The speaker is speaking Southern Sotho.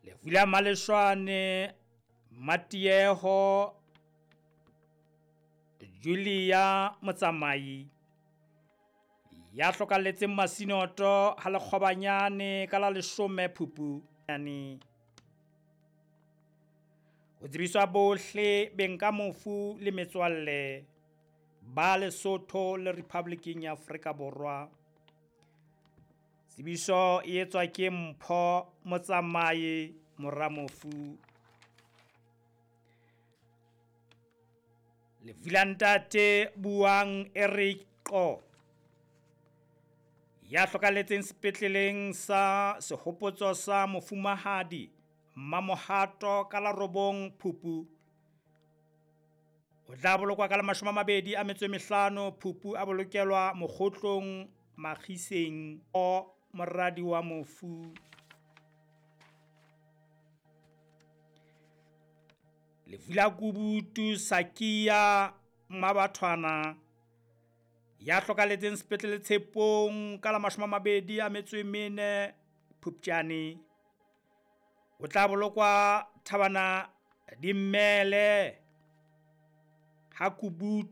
Lefu la Maleshwane Matieho Julia Motsamai ya hlokalletseng Masinoto ha Lekgobanyane ka la 10 Phupu. Ho tsebiswa bohle beng ka mofu le metswalle ba Lesotho le Republiking ya Afrika Borwa. Tsebiso e etswa ke Mpho Motsamai mora mofu. Lefu la ntate Buang Eric Qo ya hlokalletseng sepetleleng sa Sehopotso sa Mofumahadi Mmamohato ka la 9 Phupu. O tla bolokwa ka la 25 Phupu, a bolokelwa Mokgotlong Makgiseng o moradi wa mofu. Lefu la Kubutu Sakia Mmabathwana ya hlokalletseng sepetlele Tshepong ka la 24 Phupjane. O tla bolokwa Thabana Dimmele ha Kubutu.